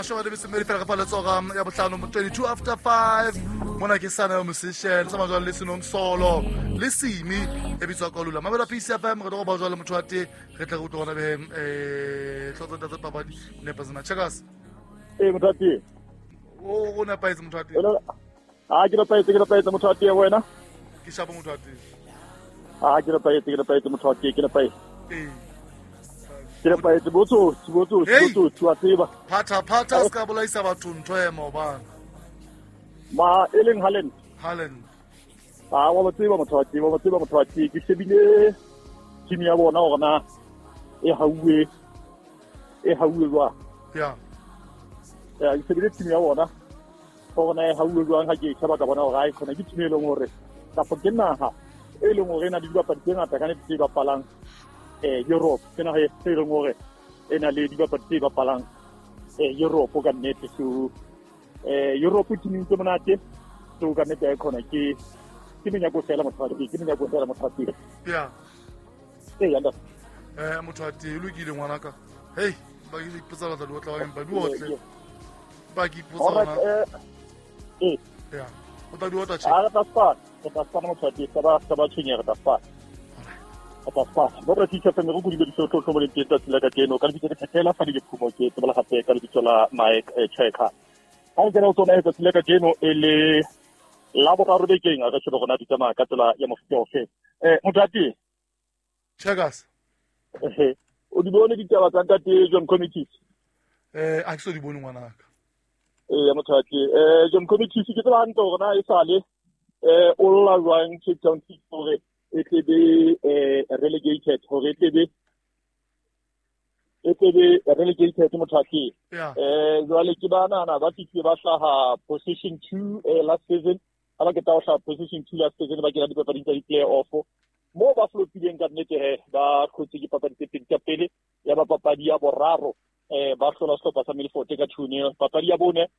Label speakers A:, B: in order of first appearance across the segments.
A: Mashome a metsomedi fela ka fa letsoga ya botlhano, 22 after 5. Mona ke sana yo musician sa majwale le senong solo le simi e bitswa kolula mabela PCFM. Re tlo go ba jwale motho wa te re tle re utlwe gona beheng tlotso tsa papadi nepazima checkers.
B: Ee, motho wa tee.
A: O nepahetse, motho wa te.
B: A ke nepahetse, ke nepahetse, motho wa tee, wena?
A: Ke shapo, motho wa te.
B: A ke nepahetse, ke nepahetse, motho wa tee, ke nepahetse. Ee, ke nepahetse. Botsotsi, botsotsi, botsotsi, wa tseba.
A: Phatha phatha se ka bolaisa batho ntho e maobane.
B: Ma e leng Haaland.
A: Haaland.
B: A wa ba tseba, motho wa tee, wa ba tseba, motho wa tee. Ke shebile team ya bona hore na e hauwe, e hauwe jwang. Ya, ke shebile team ya bona gore na e hauwe jwang. Ha ke e sheba, ka bona hore a e khona ke team e leng hore kapa ke naha e leng hore e na le dibapadi tse ngata ka nnete tse bapalang Europe. Ke naha e leng hore e na le dibapadi tse bapalang Europe ka nnete. So Europe teaming tse monate. So ka nnete e khona ke menyako fela, motho wa teng, ke menyako fela, motho wa teng. Ee, yanda.
A: Motho wa teng, lokile ngwanaka. Hey, ba ke ipotsa batla di otla wa empa di otle. Ba ke ipotsa ona.
B: Ee.
A: Ya. O tla di otla che.
B: A re tla spana, re tla spana, motho wa teng, sa ba tshwenye, re tla spana. Re tla spana. Bo re teacher feme go kudile diso tlo tlo teng tsatsi la kajeno ka lebitso ke Thethela fa di phumo, ke tsebela gape ka lebitso la Mike Checker. Ha o kena o tsona tsatsi la kajeno e le la boraro bekeng, a re shebe rona di tsamaya ka tsela ya mofuta ofe. Motho wa teng.
A: Checkers.
B: O di bone ditaba tsa ntate John Comitis?
A: A ke so di bone, ngwanaka.
B: Ee, motho wa teng. John Comitis, ke tseba hantle hore na e sale o lla jwang Cape Town City hore e tle be relegated, hore e tle be relegated, motho wa teng. Jwale ke ba nahana ba fihlile ba hlaha position 2 last season. Ha ba qeta ho hlaha position 2 last season, ba kena dipapading tsa di-play-off moo ba flopileng ka nnete. He ba hlotse ke papadi tse pedi tsa pele, ya ba papadi ya boraro ba hlola sehlopha sa Milford ka 2-0. Papadi ya bone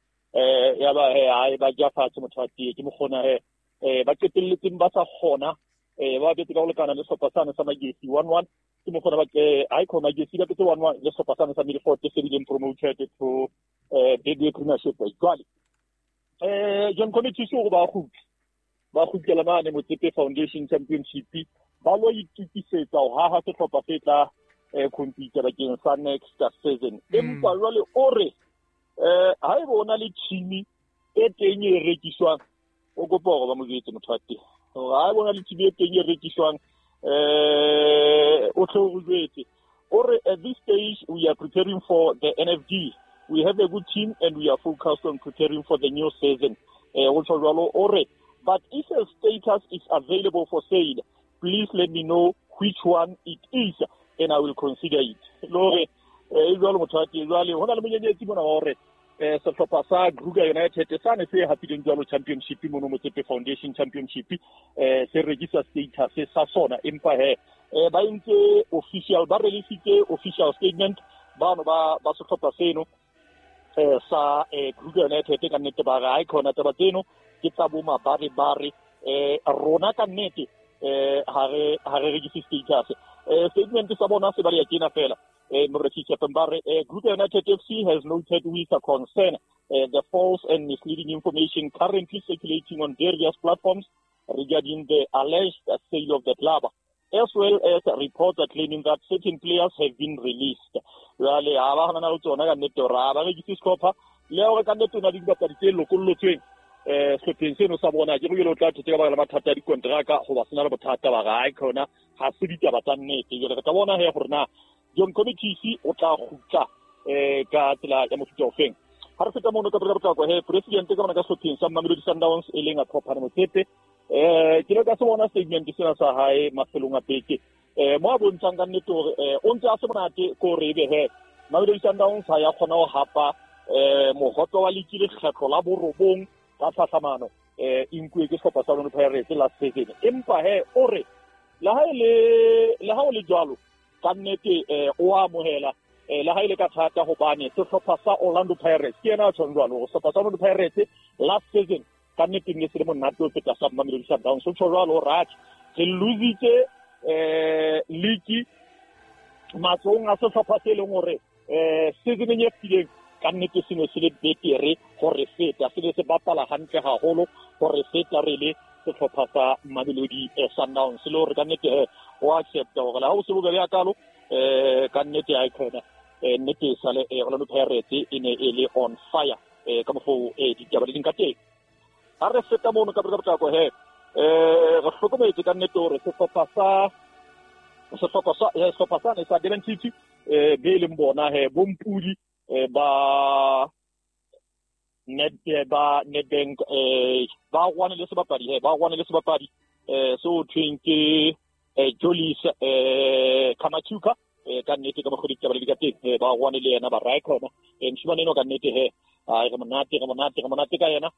B: ya ba he hae ba ja fatshe, motho wa tee. Ke mokgona he ba qetelletseng ba sa kgona, ba betse ka ho lekana le sehlopha sane sa Magesi 1-1. Ke mokgona ba hae khona Magesi ba betse 1-1 le sehlopha sane sa Milford se bileng promoted to Betway Premiership. Jwale John Comitis o ba kgutla, ba kgutlela mane Motsepe Foundation Championship, ba lo itukisetsa ho haha sehlopha se tla compete bakeng sa next season. Empa jwale o re haeba o na le team e teng e rekiswang, o kopa hore ba mo jwetse, motho wa teng, hore haeba o na le team e teng e rekiswang, o tle o jwetse. O re, "At this stage we are preparing for the NFD. We have a good team and we are focused on preparing for the new season." O tjho jwalo. O re, "But if a status is available for sale, please let me know which one it is and I will consider it." Le hore e jwalo, motho wa teng. Jwale ho na le monyenyetsi mona wa hore sehlopha sa Kruger United sane se hapileng jwalo championship mono Motsepe Foundation Championship se rekisa status sa sona. Empa he ba entse official, ba releasitse official statement bano ba sehlopha seno sa Kruger United. Ka nnete ba re ha e khona taba tseno ke tsa bo mabare bare. Rona ka nnete ha re rekise status. Statement sa bona se ba le tjena fela, Moreki Chapembare: "Kruger United FC has noted with a concern the false and misleading information currently circulating on various platforms regarding the alleged sale of the club, as well as reports claiming that certain players have been released." Jwale ha ba hana le tsona ka nnete hore ha ba rekise sehlopha, le hore ka nnete o na le dibapadi tse lokollotsweng sehlopheng seno sa bona. Ke re o tla thotse ka baka la mathata a dikonteraka goba se na le bothata. Ba re ha khona ha se ditaba tsa nnete. Jwale re tla bona he gore na John Comitis o tla kgutla ka tsela ya mofuta ofeng. Ha re feta mono ka potlako he, president ka bona ka sehlopheng sa Mamelodi Sundowns e leng a Phopane Motsepe, ke le ka se bona statement sena sa hae mafelong a beke, mo a bontshang ka nnete hore o ntse a se monate ko hore ebe he Mamelodi Sundowns ha ya kgona ho hapa mohope wa liki lekgetlo la borobong ka tlhahlamano, e nkuwe ke sehlopha sa Orlando Pirates last season. Empa he o re le ha o le jwalo, ka nnete o amohela le ha ile ka thata hobane sehlopha sa Orlando Pirates, ke yena a tshwang jwalo, hore sehlopha sa Orlando Pirates last season ka nnete ne se le monate ho feta sa Mamelodi Sundowns. O tjho jwalo hore atjhe, re lositse league matsohong a sehlopha se leng hore seasoneng e fetileng ka Ka nnete se ne se le betere go re feta, se ne se bapala hantle haholo go re feta re le sehlopha sa Mamelodi Sundowns. Le hore ka nnete he o accepta hore le ha o se bobebe hakalo, ka nnete ha e khona, nnete e sale Orlando Pirates e ne e le on fire, ka mokgwa ditaba di leng ka teng. Ha re feta mono ka potlako he, re hlokometse ka nnete hore sehlopha sane sa Durban City, be leng bona he bompudi ba Nedbank, ba rwane le sebapadi he, ba rwane le sebapadi so thweng ke Jolis Kamachuka. Ka nnete ka mokgwa ditaba di ka teng, ba rwane le yena ba rae khona. Moshimane eno ka nnete he, re monate, re monate, re monate ka yena,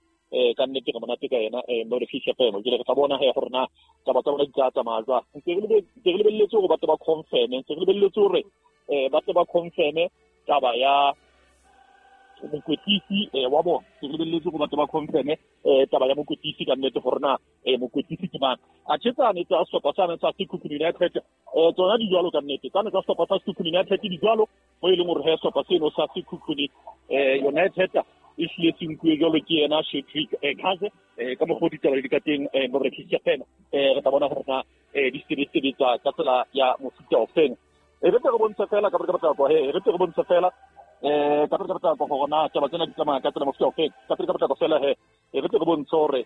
B: ka nnete re monate ka yena. Mo re fihla fela ke re tla bona he gore na taba tsa bona di tla tsamaya jwang. Ntse re lebelletse hore batho ba confirm, ntse re lebelletse hore ba tle ba confirm taba ya mokwetlisi wa bona. Re lebelletse hore batho ba confirm taba ya mokwetlisi ka nnete gore na mokwetlisi ke mang. A tjhetsane tsa sehlopha sane sa Sekhukhune United, tsona di jwalo ka nnete. Tsane tsa sehlopha sa Sekhukhune United di jwalo, mo e leng hore he sehlopha seno sa Sekhukhune United e hlile se nkuwe jwalo ke yena Cedric Kaze. Ka mokgwa ditaba di ka teng, mo re fihla fela re tla bona gore na di sebetsa ka tsela ya mofuta ofeng. E re tle re bontshe fela ka potlako he, re tle re bontshe fela ka potlako gore na taba tsena di tsamaya ka tsela mofuta ofeng. Ka potlako fela he, e re tle re bontshe hore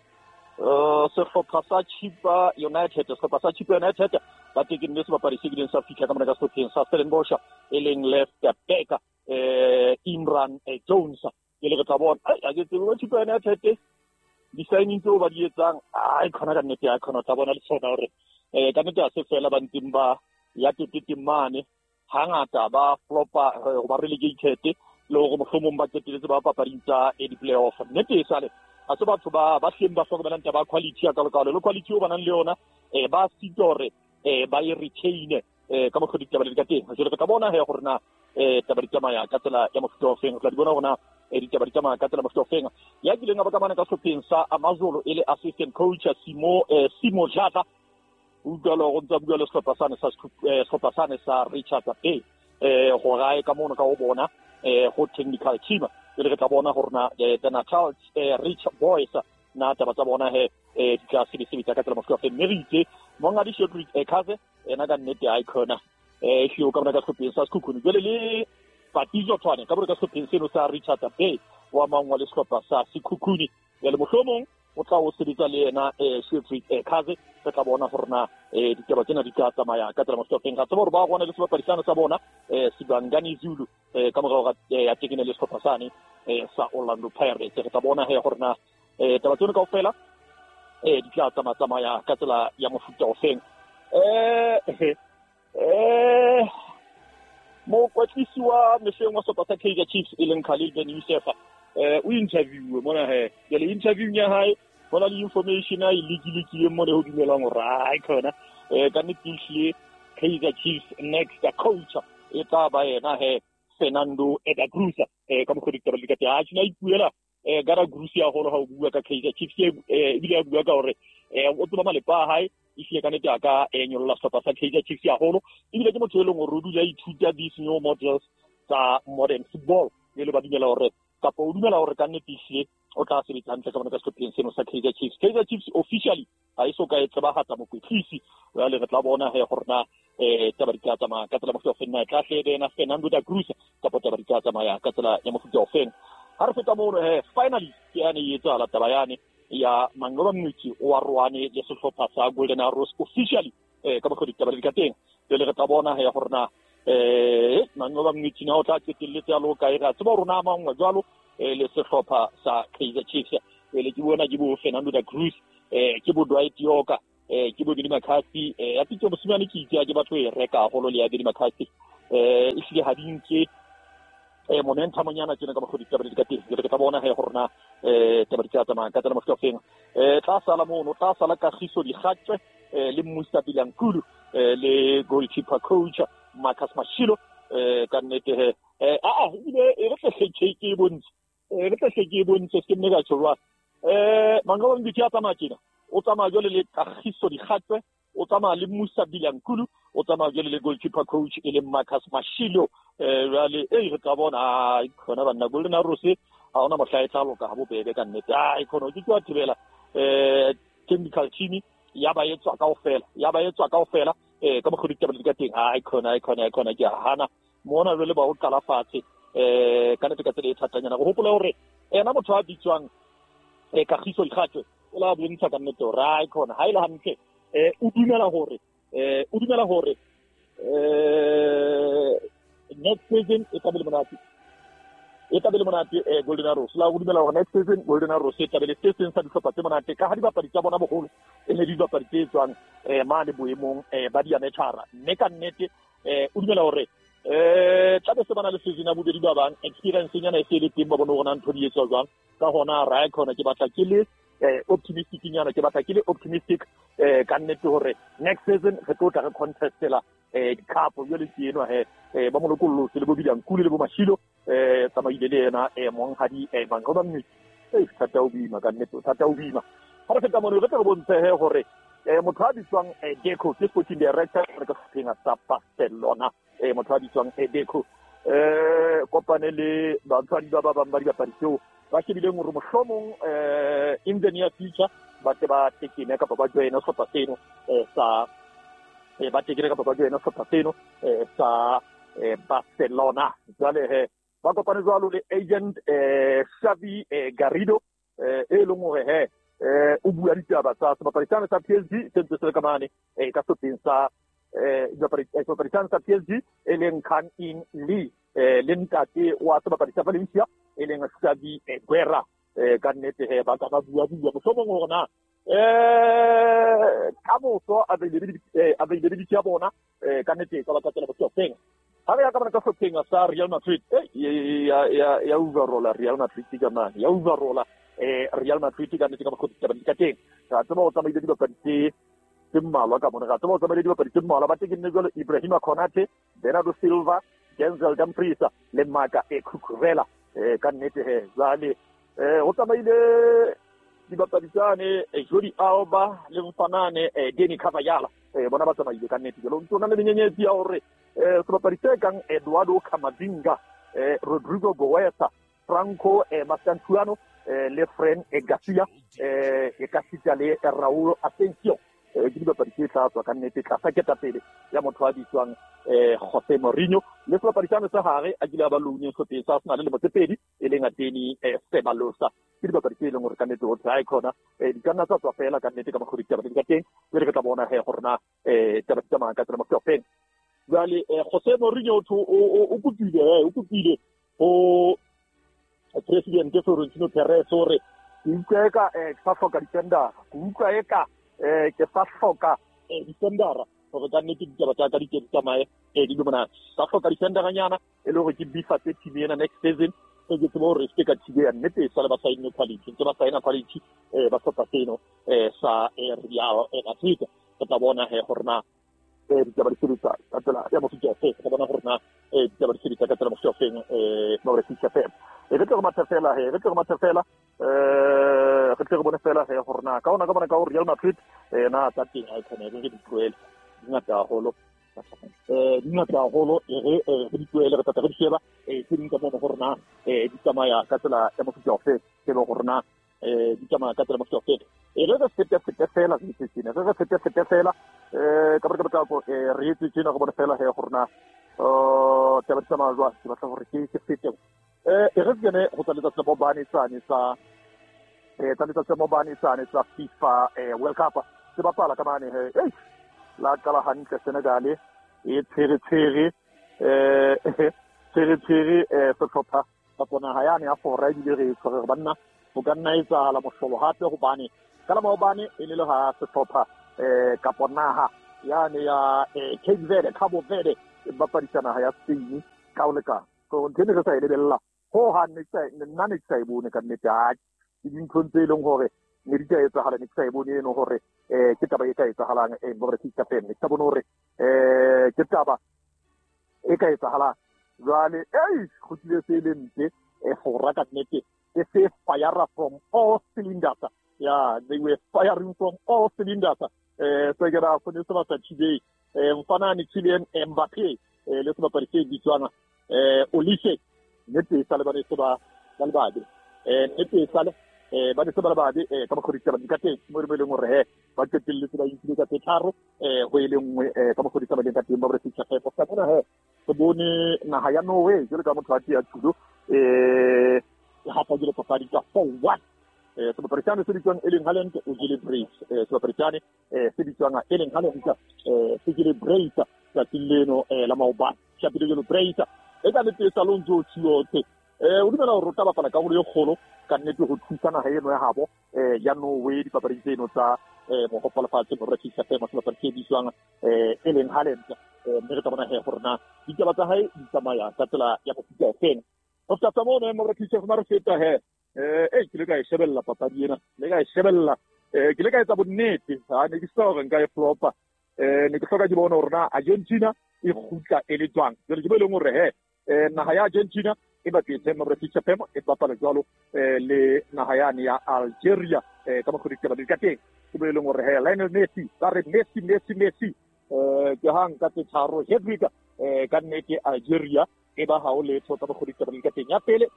B: sehlopha sa Chippa United, sehlopha sa Chippa United ba tekenne sebapadi se kileng sa fihla ka mona ka sehlopheng sa Stellenbosch, e leng left back Imran Jones. Ke le re tla bona, a ke tsebe ba Chippa United di-signing tseo ba di etsang, ai khona ka nnete, ai khona tla bona le tsona hore ka nnete ha se fela ba ntseng ba ya teteteng mane, hangata ba flopa ba relegated, le hore mohlomong ba qetelletse ba papading tsa di-playoff. Nnete e sale ha se batho ba hleng ba hlokomelang taba ya quality ya kalokalo, le quality eo ba nang le yona ba sitwa hore ba e retain ka mokgwa ditaba di ka teng. Jwale re tla bona he gore na taba di tsamaya ka tsela ya mofuta ofeng. Re tla di bona gore na ditaba di tsamaya ka tsela mofuta ofeng. Ya kileng a ba ka mane ka sehlopheng sa Amazulu e le assistant coach Simo Dladla, utlwa le go ntse a bua le sehlopha sane sa sehlopha sane sa Richards Bay, go gae ka mono ka go bona go technical team. Jwale re tla bona gore na the Natal Rich Boys na taba tsa bona he di tla sebetsa ka tsela mofuta ofeng. Mme re itse mongadi Cedric Kaze ena ka nnete ha e khona hlio ka mona ka sehlopheng sa Sekhukhune. Jwale le Patizo Tshwane ka mona ka sehlopheng seno sa Richards Bay wa mangwa le sehlopha sa Sekhukhune. Jwale mohlomong o tla o sebetsa le yena Cedric Kaze. Re tla bona gore na ditaba tsena di tla tsamaya ka tsela mofuta ofeng. Ra tseba hore ba rwana le sebapadi sane sa bona Sibangani Zulu, ka morao ga ya tekene le sehlopha sane sa Orlando Pirates. Re tla bona he gore na taba tseno kaofela di tla tsamaya ka tsela ya mofuta ofeng. Mokwetlisi wa mehleng wa sehlopha sa Kaizer Chiefs e leng Khalil Ben Youssef, o interview mona he. Jwale interview ya hae hona le information a e lekilekileng mona ho dumelang hore ai khona ka nnete ehlile Kaizer Chiefs next coach e tla ba yena he Fernando da Cruz. Ka mokgwa ditaba di ka teng, a tjena ipuela ka da Cruz ya holo ha o bua ka Kaizer Chiefs, ebile a bua ka hore o tseba malepa a hae, ehlile ka nnete a ka nyolla sehlopha sa Kaizer Chiefs haholo. Ebile ke motho e leng hore o dula a ithuta these new models tsa modern football, e le ba dumela hore kapa o dumela hore ka nnete ehlile o tla sebetsa hantle ka mona ka sehlopheng seno sa Kaizer Chiefs. Kaizer Chiefs officially ha e so ka e tsebahatsa mokwetlisi. Jwale re tla bona he gore na taba di tla tsamaya ka tsela mofuta ofeng, na e tla hle ena Fernando da Cruz kapa taba di tla tsamaya ka tsela ya mofuta ofeng. Ha re feta mono he, finally ke yane e etsahala taba yane ya Manqoba Mngqithi o arohane le sehlopha sa Golden Arrows officially, ka mokgwa ditaba di ka teng. Jwale re tla bona he gore na Manqoba Mngqithi na o tla qetelletse a le kae. Re a tseba hore na mangwe jwalo le sehlopha sa Kaizer Chiefs. Jwale ke bona ke bo Fernando da Cruz, ke bo Dwight Yorke, ke bo Benny McCarthy. Ya pitso mosimane ke itse ke batho e reka haholo le ya Benny McCarthy, ehlile ha di nke momentumnyana tjena ka mokgwa ditaba di ka teng. Jwale re tla bona he gore na taba di tla tsamaya ka tsela mofuta ofeng. Tla sala mono, tla sala Kagiso Dikgatswe le Musa Bilankulu, le goalkeeper coach Marcus Mashilo. Ka nnete he, ebile e re tle hle ke e bontshe, re tle hle ke e bontshe se ke nne ka tjho jwang. Manqoba Mngqithi a tsamaya tjena, o tsamaya jwale le Kagiso Dikgatswe, o tsamaya le Musa Bilankulu, o tsamaya jwale le goalkeeper coach e leng Marcus Mashilo. Jwale e re tla bona ai khona banna Golden Arrows ha ona mohla e tla loka ha bobebe ka nnete. Ai khona o ke wa thibela technical team ya ba etswa kaofela, ya ba etswa kaofela ka mokgwa ditaba di ka teng. Ai khona, ai khona, ai khona ke a hana mona jwale ba o qala fatshe ka nnete ka tsela e thatanyana. Go hopola hore ena motho a bitswang Kagiso Ikgatwe o la bontsha ka nnete hore ai khona ha ile hantle o dumela hore next season e tla be le monate, e tla be le monate Golden Arrows. La go dumela hore next season Golden Arrows e tla be le se seng sa dihlopha tse monate ka ha dibapadi tsa bona boholo e ne dibapadi tse tswang mane boemong ba diametara. Mme ka nnete o dumela hore tla be se bana le season ya bobedi ba bang experience nyana e se le teng, ba bone hore na ntho di etswa jwang. Ka hona ra khona ke batla ke le optimistic nyana, ke batla ke le optimistic ka nnete hore next season re tlo tla re contestela di-cup. Jwale ke enwa he ba molokolotse le bo Bilankulu le bo Mashilo tsamaile le yena monghadi Manqoba Mngqithi. Thata o boima ka nnete, thata o boima. Ha re feta mono re tle re bontshe he hore motho a bitswang Deco ke sporting director re ka sehlopheng sa Barcelona. Motho a bitswang Deco kopane le batswadi ba ba bang ba dibapadi tseo ba shebileng hore mohlomong in the near future ba tle ba tekene kapa ba joine sehlopha seno sa ba tekene kapa ba joine sehlopha seno sa Barcelona. Jwale he ba kopane jwalo le agent Xavi Garrido e leng hore he o bua ditaba tsa sebapadi sane sa PSG se ntse se le ka mane ka sehlopheng sa sebapadi sane sa PSG e leng Kang In Lee le ntate wa sebapadi sa Valencia e leng Xavi Guerra. Ka nnete he ba ka ba bua bua mohlomong hore na ka moso availability ya bona ka nnete ka ba ka tsela bohlokeng. Ha re ya ka bona ka sehlopheng sa Real Madrid ya overrolla Real Madrid ka mane, ya overrolla Real Madrid ka nnete ka mokgwa ditaba di ka teng. Ra tseba ho tsamaile dibapadi tse mmalwa ka mona, ra tseba ho tsamaile dibapadi tse mmalwa ba tekenne jwalo Ibrahima Konate, Bernardo Silva, Denzel Dumfries le Maka Cucurella. Ka nnete he jwale ho tsamaile dibapadi tsane Jordi Alba le mfanane Dani Carvajal bona ba tsamaile ka nnete. Jwale o ntso na le menyenyetsi ya hore sebapadi se kang Eduardo Camavinga, Rodrigo Goesa, Franco Mastantuano le Fran Garcia e ka sita le Raul Asensio ke dibapadi tse tla tswa ka nnete tlasa ketapele ya motho a bitswang Jose Mourinho. Le sebapadi sane sa hare a kile a ba louneng sehlopheng sa Arsenal lemo tse pedi e leng Dani Ceballos. Ke dibapadi tse leng hore ka nnete ho tla khona di ka nna tsa tswa fela ka nnete ka mokgwa ditaba di ka teng. Jwale re tla bona he hore na taba di tsamaya ka tsela mofuta ofeng. Jwale Jose Mourinho o kopile ho President Florentino Perez hore ke utlwa eka ke sa hloka defendera, ke utlwa eka ke sa hloka defendera hore ka nnete ditaba tsa ka di ke di tsamaye di be monate. Sa hloka defenderanyana e le hore ke bifatse team ena next season, ke tsebe hore se ka team ya nnete e sale ba saenne quality, ntse ba saena quality ba sehlopha seno sa Real Madrid. Re tla bona he hore na ditaba di sebetsa ka tsela ya mofuta ofe, re tla bona hore na ditaba di sebetsa ka tsela mofuta ofeng Mauritius FM. Re tle re mathe fela he, re tle re mathe fela re tle re bone fela he hore na ka ona ka bona ka Real Madrid na tsa teng ha e khone re di tlohele di ngata haholo, di ngata haholo re di tlohele re tla re di sheba tse ding ka mono hore na di tsamaya ka tsela ya mofuta ofe, ke le hore na di tsamaya ka tsela mofuta ofe. Re re fete fete fela re itse tsena, re re fete fete fela ka baka potlako re etse tsena re bone fela he hore na taba di tsamaya jwang. Ke batla hore ke fete re kene go tsa letsatsi la maobane sane sa tsa letsatsi la maobane sane sa FIFA World Cup se bapala ka mane he la qala hantle Senegal e tshwere tshwere tshwere tshwere sehlopha kapa naha yane ya Fora ebile re tshwere banna ho ka nna etsahala mohlolo hape hobane ka la maobane e ne le ha sehlopha kapa naha yane ya Cape Verde, Cabo Verde e bapadisa naha ya Spain ka ho lekana. So ntho ene re sa e lebella ho hang nna ne ke sa e bone ka nnete. Ha ke dinthong tse leng hore ne di ka etsahala ne ke sa e bone eno hore ke taba e ka etsahalang Mauritius FM. Ne ke sa bone hore ke taba e ka etsahalang. Jwale kgutlile se le mpe Fora ka nnete e se fire from all cylinders. Yeah, they were firing from all cylinders. Se ke ra kgone se ba sa today mfanane Kylian Mbappe le sebapadi se bitswang Olise nnete sa le ba ne se ba ba le babe nnete sa le ba ne se ba le babe ka mokgwa ditaba di ka teng mo e leng hore he ba qetelletse ba inkile ka tse tharo ho e le nngwe ka mokgwa ditaba di ka teng ba re fihla he go bona he re bone naha ya Norway jwalo ka motho a tia tulo hapa jwalo papadi ka 4-1. Sebapadi sane se bitswang Erling Haaland o jele brace. Sebapadi sane se bitswang Erling Haaland se jele brace tsatsing leno la maobane. Shapile jelo brace e ka nnete sa Alonso Tshiote o dumela hore o tla bapala karolo e kgolo ka nnete ho thusa naha eno ya habo ya Norway dipapading tseno tsa mohopa lefatshe mo rekisa fema sebapadi se bitswang Erling Haaland. Mme re tla bona he gore na ditaba tsa hae di tsamaya ka tsela ya mofuta ofeng. Ho feta mono mo rekisa fema re feta he ke le ka e shebella papadi ena, le ka e shebella ke le ka etsa bonnete ha ne ke sa hore nka e flopa ne ke hloka ke bona hore na Argentina e kgutla e le jwang. Jwale ke bo e leng hore he naha ya Argentina e bapetse mo rekisa fema e bapala jwalo le naha yane ya Algeria ka mokgwa ditaba di ka teng. Ke bo e leng hore he Lionel Messi ba re Messi Messi Messi ke hang ka tse tharo hat-trick ka nnete Algeria e ba ha o letho ka mokgwa ditaba di ka teng. Ya pele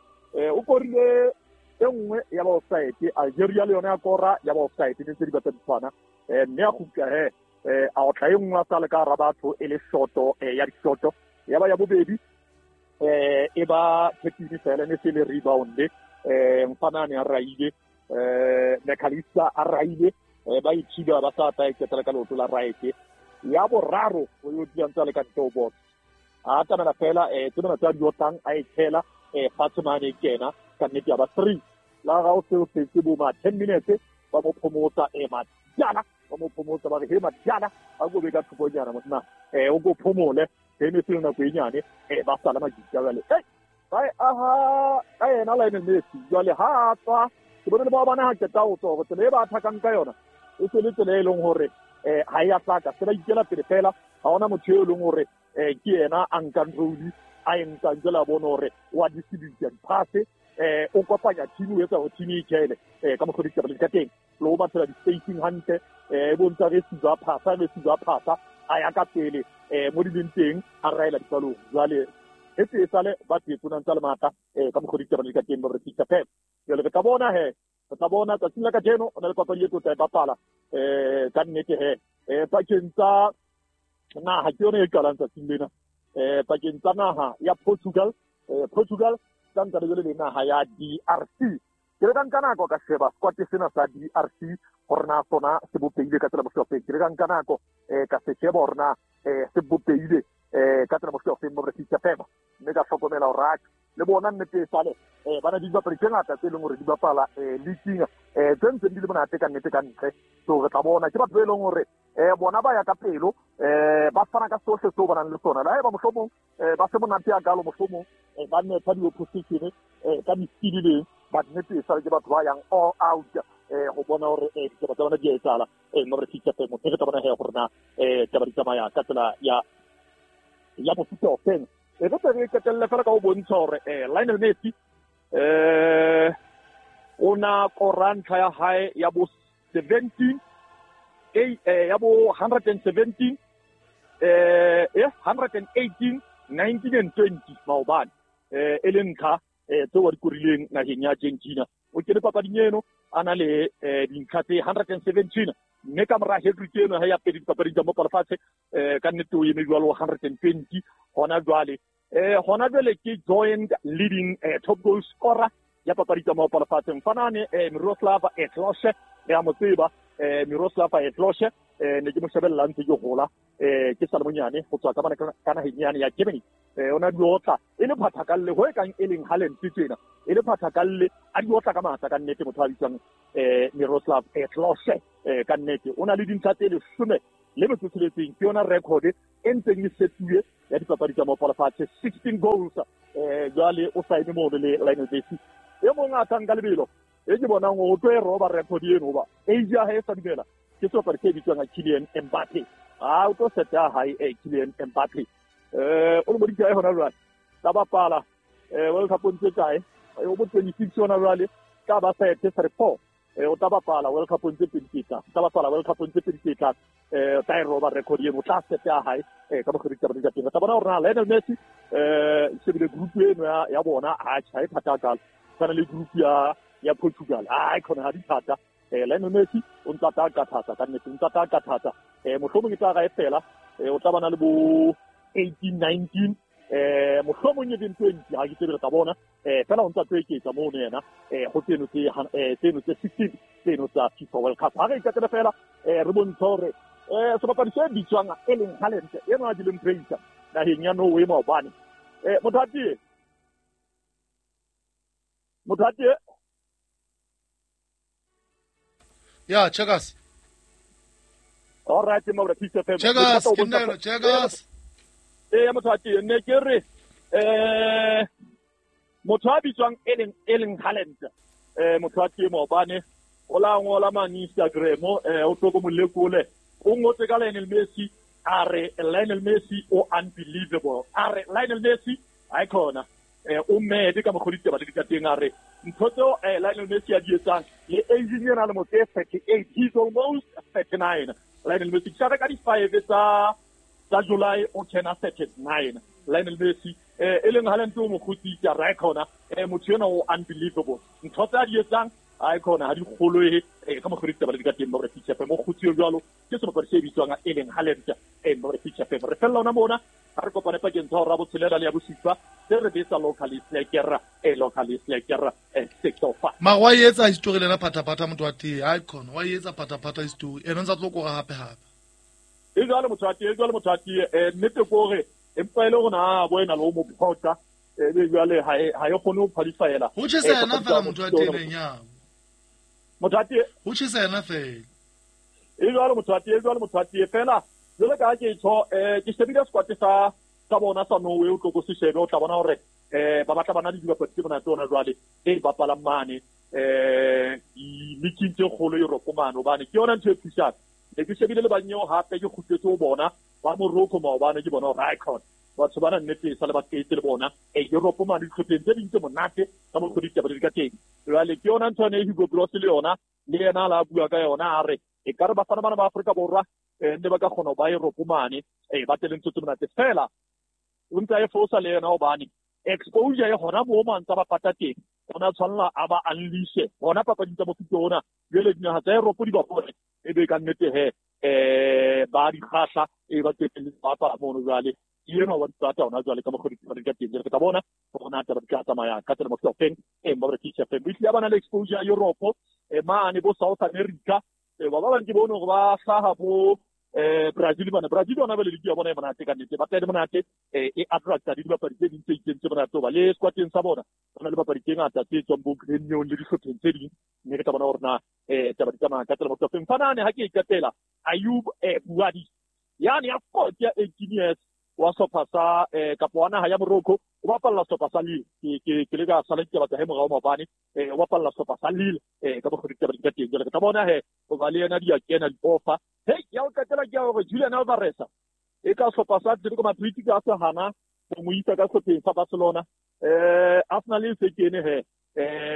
B: o korile e nngwe ya ba offside, Algeria le yona ya kora ya ba offside ne tse di batla di tshwana mme a kgutla he a otla e nngwe a sa le ka hara batho e le shoto ya dishoto. Ya ba ya bobedi e ba thekini fela ne se le rebound mfanane a raile McAllister a raile ba ithiba ba sa tla iketela ka leoto la right. Ya boraro o yo dula ntse a le ka ntle ho box a atamela fela tsena tsa di otlang a e tshela fatshe mane kena ka nnete ya ba 3 la ga o se o setse bo ma 10 minutes ba mo phomotsa Madiana ba mo phomotsa ba re he Madiana a go be ka thokonyana monna o go phomole e ne se nako e nyane ba sala majitja jwale ba aha ka yena Lionel Messi jwale ha tswa ke bone le ba bana ha qeta ho tswa tsela e ba athakang ka yona e se le tsela e leng hore ha ya hlaka se ba ikela pele fela ha ona motho e leng hore ke yena a nkang role a e nkang jwale a bone hore wa distribute diphase o kopanya team o etsa hore team e ikele ka mokgwa ditaba di ka teng le ho batlela di-spacing hantle e bontsha re sizwa phasa re sizwa phasa a ya ka pele mo di leng teng a raela dipalong jwale e tse sale ba tsena ntse le matla ka mokgwa ditaba di ka teng ba re fihla pep. Jwale re tla bona he re tla bona tsatsing la kajeno o na le papadi e tlo tla e bapala ka nnete he pakeng tsa naha ke yone e qalang tsatsing lena pakeng tsa naha ya Portugal Portugal tsa ntse le naha ya DRC. Ke re ka nka nako ka sheba squad sena sa DRC hore na sona se bopehile ka tsela mohlopeng. Ke re ka nka nako ka se sheba hore na se bopehile ka tsela mohlopeng mo re fihla fema mme ka hlokomela hore le bona nnete sale ba na di dibapadi tse ngata tse leng hore di bapala leaking tse ntseng di le monate ka nnete ka ntle. So re tla bona ke batho ba e leng hore bona ba ya ka pelo ba fana ka sohle seo ba nang le sona. Le haeba mohlomong ba se monate ya kalo mohlomong ba netha di-opposition ka di-skill leng but nnete sale ke batho ba yang all out ho bona hore ditaba tsa bona di a etsahala mo re fihla femo re tla bona he gore na taba di tsamaya ka tsela ya mofuta ofeng. E re re qetelle fela ka ho bontsha hore Lionel Messi o na kora ntlha ya hae ya bo 17 ya bo 117 118 19 and 20 maobane e le ntlha tseo a di korileng naheng ya Argentina. O kene papading eno a na le dintlha tse 117 mme ka mora hat-trick eno ha ya pedi dipapading tsa mopa lefatshe ka nnete o eme jwalo 120 hona jwale. Hona jwale ke joint leading top goal scorer ya papadi tsa mopa lefatshe mfanane Miroslav Klose re a mo tseba Miroslav Klose ne ke mo shebella ntse ke hola ke sa le monyane ho tswa ka bana ka naheng yane ya Germany. O na di otla e le phathakalle ho e kang e leng Haaland tsena e le phathakalle a di otla ka matla ka nnete motho a bitswang Miroslav Klose ka nnete o na le dintlha tse 16 ke yona record e ntseng e setuwe ya dipapadi tsa mopa lefatshe 16 goals jwale o saene mono le Lionel Messi e mong a tlang ka lebelo e ke bonang o tlo e roba record eno hoba age ya hae sa dumela ke sebapadi se bitswang Kylian Mbappe. A o tlo seta hae Kylian Mbappe o le moditse hona jwale tla bapala World Cup o ntse kae o bo 26 hona jwale ka ba sete 34 O tla bapala World Cup tse pedi tse tlang, tla bapala World Cup tse pedi tse tlang, o tla e roba record eno, o tla sete ya hae ka mokgwa ditaba di ka teng. Re tla bona gore na Lionel Messi shebile group eno ya bona, ha e thata hakalo, tshwana le group ya Portugal, ha e khona ha di thata. Lionel Messi o ntsa ta ka thata ka nnete, o ntsa ta ka thata. Mohlomong e tla ga e fela, o tla bana le bo 18 19, mohlomong e beng 20, ha ke tsebe, re tla bona. Fela o ntsa tlo eketsa mono yena go tseno tse tseno tse 16 tseno tsa FIFA World Cup. Ha re ikatele fela, re bontsha hore sebapadi se bitswang Erling Haaland eno a dileng praise naheng ya Norway maobane. Motho atie
A: ya checkers.
B: All right, Mabra Peace FM.
A: Checkers, ke nna checkers.
B: Motho atie ne ke re motho a bitswang Erling Haaland, motho a maobane o la ngola mane Instagram, o tlo ko molekole, o ngotse ka Lionel Messi, a re Lionel Messi o unbelievable, a re Lionel Messi ha khona, o mad ka mokgwa ditaba le dikateng, a re ntho tseo Lionel Messi a di etsang le age ena le motse 38, he's almost 39. Lionel Messi ke ka di 5 tsa July o kena 39. Lionel Messi Erling Haaland o mokgotsi ka ra khona, motho ena o unbelievable, ntho tsa di etsang ha khona ha di kgoloe ka mokgwa ditaba le dikateng. Ba re feature mo kgotsi jwalo ke sebapadi se bitswang Erling Haaland. Ba re feature re fella ona mona, ha re kopane pakeng tsa hora botshelela le ya bosupa, se re betsa locally slacker, locally slacker 605.
A: Mara wa etsa history lena phataphatha motho wa tee, ha khona wa etsa phataphatha history ena ntsa tlo kora hape hape.
B: E jwale motho wa tee, jwale motho wa tee, nnete ke hore empa ile rona bo ena le mo phota, be jwale ha e kgone ho qualifyela.
A: Ho tjhesa yena fela motho wa tee nya.
B: Motho wa tee
A: ho tjhesa yena fela.
B: E jwale motho wa tee, jwale motho wa tee fela. Jwale ka ke tsho ke shebile squad sa bona sa Norway, o tlo go se shebe, o tla bona hore ba batla bana le dibapadi tse monate ona jwale e bapalang mane di-league tse kgolo Europe mane, hobane ke yona ntho e thusang. Ne ke shebile le banyeo hape ke kgutletse ho bona ba Morocco maobane, ke bona hore icon batho bana nnete sa le ba qete le bona Europe mane dihlopheng tse ding tse monate ka mokgwa ditaba di ka teng. Jwale ke yona ntho ene Hugo Broos le yona le yena la bua ka yona, a re e ka re bafana bana ba Afrika Borwa ne ba ka kgona ho ba Europe mane, ba tele ntho tse monate fela. O ntsa e fosa le yena hobane exposure e hona moo mantsa ba pata teng, ona tshwanela a ba unleashe hona papading tsa mofuta ona. Jwale dinaha tsa Europe di ba bone e be ka nnete he ba di kgahla, e ba tele ba bapala mono jwale ena wa tsata ona jwale ka mokgwa ditaba di ka teng. Re tla bona hore na taba di ka tsamaya ka tsela mofuta ofeng. Ba re teacher feng ehlile ba na le exposure Europe mane bo South America, ba bang ke bone hore ba hlaha bo Brazil bana. Brazil yona ba le league ya bona e monate ka nnete, ba tla le monate, e attracta dibapadi tse ding tse itseng tse monate, ba le squadeng sa bona ba na le bapadi tse ngata tse tswang bo Grêmio le dihlopheng tse ding, mme re tla bona hore na taba di tsamaya ka tsela mofuta ofeng. Fanane ha ke ikatela Ayub Bouadi yani ya 40 ya 18 years wa sehlopha sa kapa wa naha ya Morocco, o bapalla sehlopha sa Lille. Ke le ka sala ditaba tsa hae morao maobane, o bapalla sehlopha sa Lille ka mokgwa ditaba di ka teng. Jwale re tla bona he hoba le yena di a kena di-offer. Hei, ya o qetela ke ya hore Julian Alvarez e ka sehlopha sa Atletico Madrid ka se hana ho mo isa ka sehlopheng sa Barcelona. Arsenal e se kene he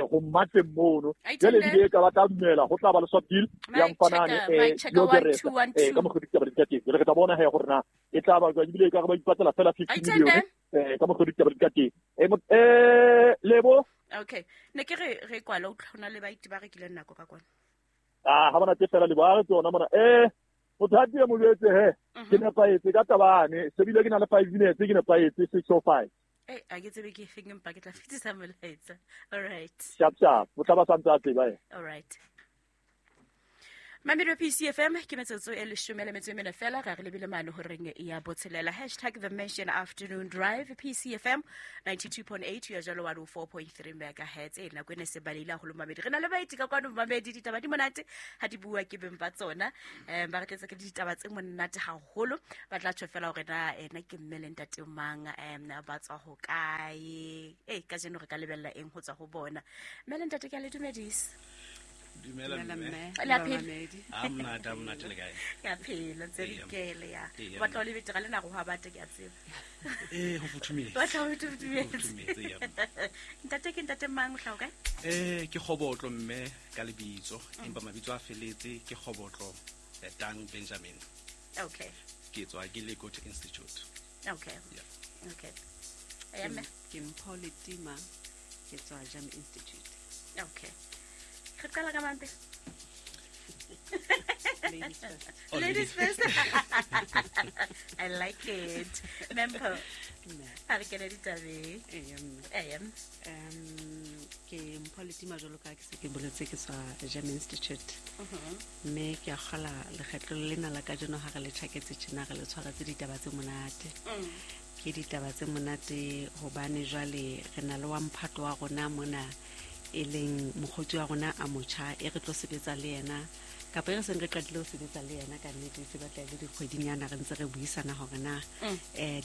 B: ho mmatleng mono. Jwale ebile ka ba tla dumela ho tla ba le swap deal ya mfanane Gyökeres ka mokgwa ditaba di ka teng. Jwale re tla bona he hore na e tla ba jwang, ebile e ka re ba ipatlela fela 50 million ka mokgwa ditaba di ka teng. Lebo.
C: Okay, ne ke re kwala o tlhona le baiti ba rekileng nako ka kwana.
B: Ha bona tse fela le ba re tsona mona. Motho a mo jwetse he ke nepahetse ka tabane, se bile ke na le 5 minutes, ke nepahetse 6:05.
C: A ke tsebe ke efeng, empa ke tla fetisa molaetsa. All right.
B: Sharp sharp, o tla ba santse a tseba.
C: All right. Mamelo PCFM ke metsotso e 14 fela, re lebile mane horeng ya botshelela. Hashtag The Mission Afternoon Drive, PCFM 92.8 ya jalo 104.3 megahertz. E nako ene se balehile haholo mamedi. Re na le baeti ka kwano mamedi, ditaba di monate ha di bua ke beng ba tsona. Ba re tletse ke ditaba tse monate haholo. Ba tla tjho fela hore na ena ke mme le ntate mang, ba tswa ho kae. Kajeno re ka lebella eng ho tswa ho bona. Mme le ntate ke a le dumedisa.
D: Dumela mme.
C: La phela.
D: A monate le kae?
C: Ke a phela, ntse re ikele ya. Batla o le betere le nako ha bata ke a tseba.
D: Ho futhumetse.
C: Batla ho futhumetse.
D: Ya.
C: Ntate ke ntate mang o hlaha kae?
D: Ke Kgobotlo mme ka lebitso, empa mabitso a feletse ke Kgobotlo Tang Benjamin.
C: Okay.
D: Ke tswa ke le Goethe Institute.
C: Okay.
D: Yeah.
C: Okay. Eya mme.
E: Ke Mpho Letima, ke tswa Jam Institute.
C: Okay. Re qala ka mang pele?
E: Ladies first.
D: Oh,
C: Ladies first. I like it. Mme Mpho, ha re kene ditabeng.
E: Eya mme.
C: Eya.
E: Ke Mpho Letima jwalo ka ke se ke boletse ke tswa Jam Institute. Mme ke a kgola lekgetlo lena la kajeno ha re le tjhaketse tjena re le tshwaretse ditaba tse monate. Ke ditaba tse monate hobane jwale re na le wa mphato wa rona mona e leng mokgotsi wa rona a motjha e re tlo sebetsa le yena kapa e re seng re qadile ho sebetsa le yena ka nnete se batla e le dikgwedinyana re ntse re buisana hore na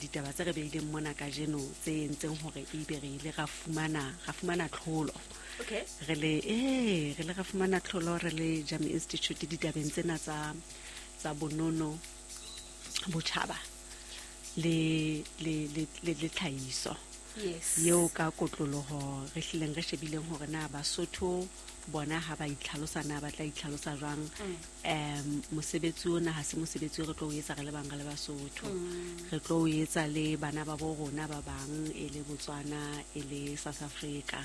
E: ditaba tse re beileng mona kajeno tse entseng hore ebe re ile ra fumana tlholo.
C: Okay.
E: Re le ra fumana tlholo re le Jam Institute ditabeng tsena tsa bonono botjhaba le tlhahiso.
C: Yes.
E: Yeo ka kotloloho re hlileng re shebileng hore na Basotho bona ha ba itlhalosa na ba tla itlhalosa jwang. Mosebetsi ona ha se mosebetsi o re tlo o etsa re le bang re le Basotho. Re tlo o etsa le bana ba bo rona ba bang e le Botswana e le South Africa.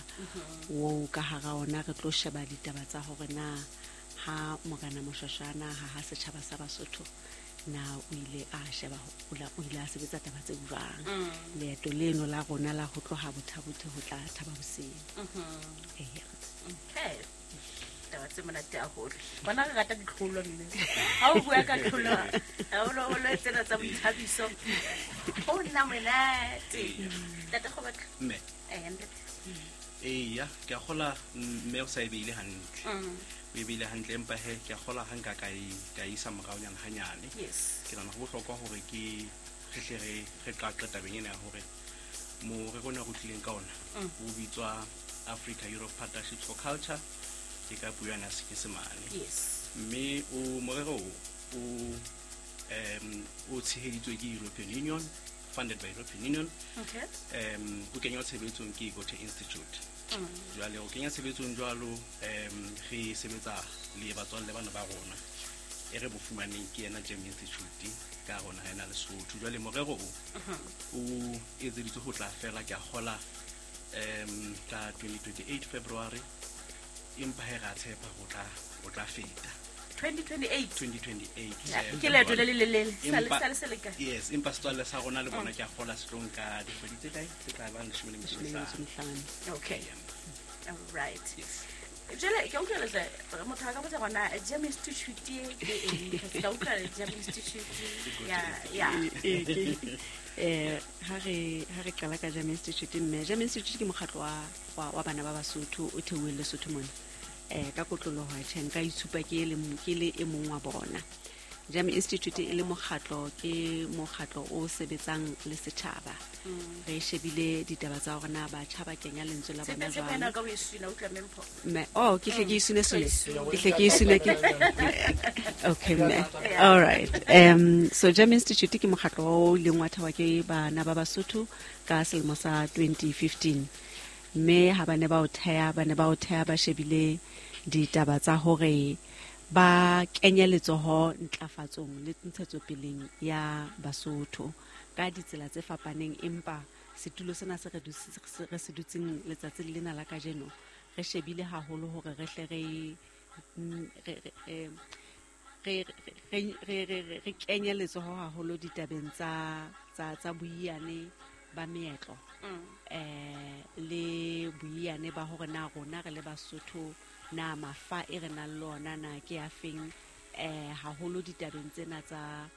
E: O ka hara ona re tlo sheba ditaba tsa hore na ha Morena Moshoshana ha setjhaba sa Basotho na o ile a sheba o ile a sebetsa taba tse jwang. Leeto leno la rona la ho tloha Botha-Bothe ho tla Thaba Bosiu. Eya.
C: Okay. Taba tse monate haholo. Bona re rata ditlholo mme. Ha o bua ka tlholo, haholoholo tsena tsa boithabiso. Ho nna monate. Ntate Kgobotlo.
D: Mme.
C: Eya ntate.
D: Eya, ke a kgola mme o sa e beile hantle. O e beile hantle empa he ke a kgola ha nka ka isa moraonyana hanyane.
C: Yes.
D: Ke nahana ho bohlokwa hore ke re hle re qaqe tabeng ena ya hore morero ona re tlileng ka ona o bitswa Africa Europe Partnerships for Culture ke ka puo ya Senyesemane.
C: Yes.
D: Mme o morero o tsheheditswe ke European Union, funded by European Union.
C: Okay.
D: O kenywa tshebetsong ke Goethe Institute. Jwale o kenya tshebetsong jwalo re sebetsa le batswalle bana ba rona e re bo fumaneng ke yena Jam Institute ka rona ha ena Lesotho. Jwale morero o etseditswe ho tla fela ke a kgola ka 2028 February empa he ra tshepa ho tla feta
C: 2028.
D: 2028.
C: Ke leeto le le lelele. Sale se le kae?
D: Yes, empa setswalle sa rona le bona ke a kgola se tlo nka dikgwedi tse kae tse tla bang 15.
C: Okay. All right.
D: Yes.
C: Jwale ke utlwa letle motho a ka botsa gona Jam Institute ke eng? Ka utlwa Jam Institute ya ya.
E: Ha re qala ka Jam Institute mme Jam Institute ke mokgatlo wa bana ba Basotho o theuweng Lesotho mona. Ka kotloloho tjhe nka itshupa ke le e mong wa bona. Jam Institute e le mokgatlo ke mokgatlo o sebetsang le setjhaba. Re shebile ditaba tsa hore na batjha ba kenya lentswe la bona jwang. Mme ke hle ke isune sune. Ke hle ke isune ke. Okay mme. All right. So Jam Institute ke mokgatlo o ileng wa thehwa ke bana ba Basotho ka selemo sa 2015. Mme ha ba ne ba o theha ba shebile ditaba tsa hore ba kenye letsoho ntlafatsong le ntshetsopeleng ya Basotho ka ditsela tse fapaneng, empa setulo sena se re se dutseng letsatsi lena la kajeno re shebile haholo hore re hle re kenye letsoho haholo ditabeng tsa boiyane ba meetlo le boiyane ba hore na rona re le Basotho na mafa e re nang le ona na ke a feng haholo ditabeng tsena tsa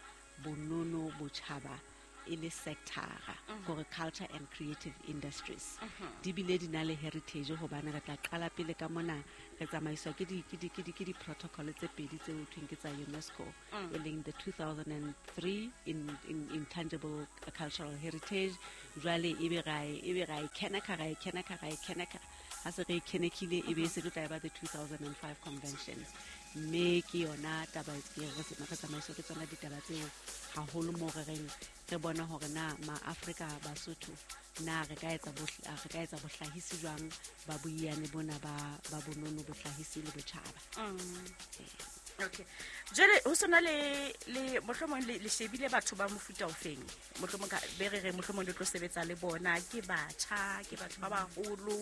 E: bonono botjhaba e le sector-a hore culture and creative industries di bile di na le heritage hobane re tla qala pele ka mona re tsamaiswa ke di protocol tse pedi tse ho thweng ke tsa UNESCO e leng the 2003 in intangible cultural heritage. Jwale ebe ra e keneka ha se re kenekile ebe se tlo tla ba the 2005 convention. Mme ke yona taba ke re re tsamaiswa ke tsona ditaba tseo haholo moo re reng re bona hore na maAfrika Basotho na re ka etsa re ka etsa bohlahisi jwang ba boiyane bona ba bonono, bohlahisi le botjhaba.
C: Okay, jwale ho sona le mohlomong le shebile batho ba mofuta ofeng, mohlomong ka be re re mohlomong le tlo sebetsa le bona, ke batjha, ke batho ba baholo,